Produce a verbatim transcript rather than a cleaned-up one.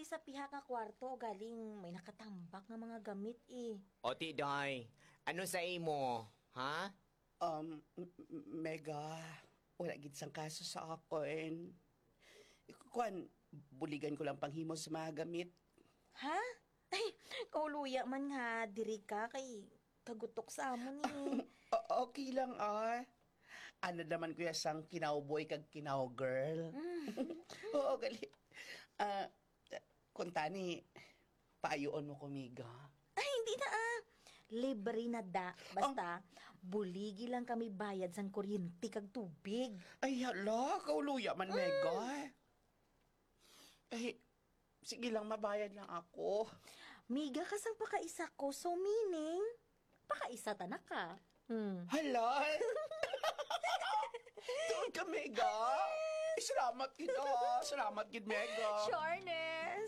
sa pihak nga kwarto, galing may nakatambak nga mga gamit, eh. O, ti, day, ano sa imo, ha? Um, m- m- Mega, wala gid sang kaso sa akon. Kuan, buligan ko lang panghimo sa mga gamit. Ha? Ay, kauluya man nga diri ka kay kagutok sa amon, eh. O- okay lang, ah. Ano naman kuya sang kinawboy kag kinawgirl? Oo, gali. Ah, kung tani, paayuon mo ko, Mega. Ay, hindi na, ah. Libre na da. Basta, buligi lang kami bayad sang kuryente kag tubig. Ay, hala, kauluya man, Mega. Ay, sige lang, mabayad lang ako. Miga ka sang pakaisa ko, so meaning, pakaisa ta na ka. Hmm. Hala! Doon ka, Mega! Ay, salamat gid, ah. Salamat gid, Mega. Sure, Ness.